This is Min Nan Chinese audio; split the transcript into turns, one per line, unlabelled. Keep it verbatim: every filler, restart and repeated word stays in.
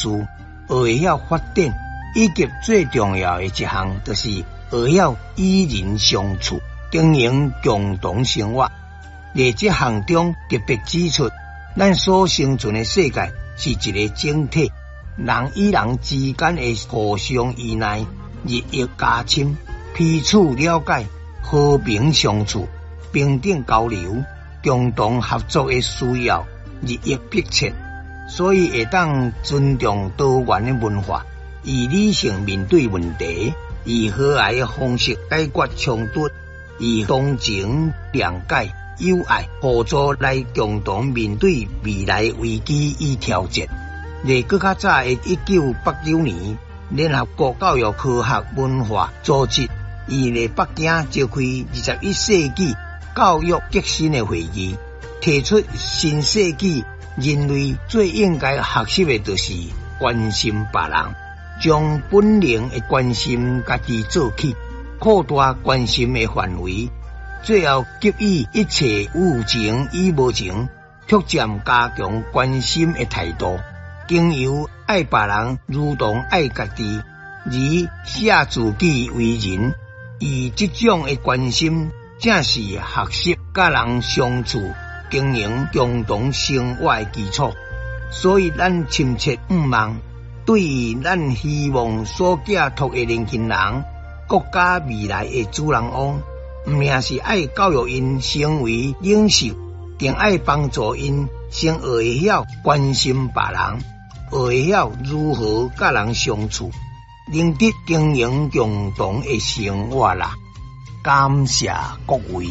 學會曉發展，以及最重要的一項，就是學曉與人相處，經營共同生活。佇這項中特別指出，咱所生存的世界是一个整體，人與人之間的互相依賴日益加深，彼此了解、和平相處、平等交流、共同合作的需要日益迫切，所以會當尊重多元的文化，以理性面對問題，以和諧的方式解決衝突，以同情、諒解、友愛、互助來共同面對未來危機與挑戰。佇閣較早的一九八九年，聯合國教育科學文化組織伊佇北京召開二十一世紀教育革新的會議，提出新世紀人類最應該學習的就是關心別人，將本能的關心家己做起，擴大關心的範圍，最後給予一切有情與無情，逐漸加強關心的態度，經由愛別人如同愛家己，而捨自己為人，以這種的關心，正是學習佮人相處、經營共同生活的基礎。所以，咱深切向望，對於咱希望所寄託的年輕人，國家未來的主人翁，毋但是愛教育𪜶成為領袖，更愛幫助𪜶先學會曉關心別人，學會曉如何佮人相處，能得經營共同的生活啦。感謝各位。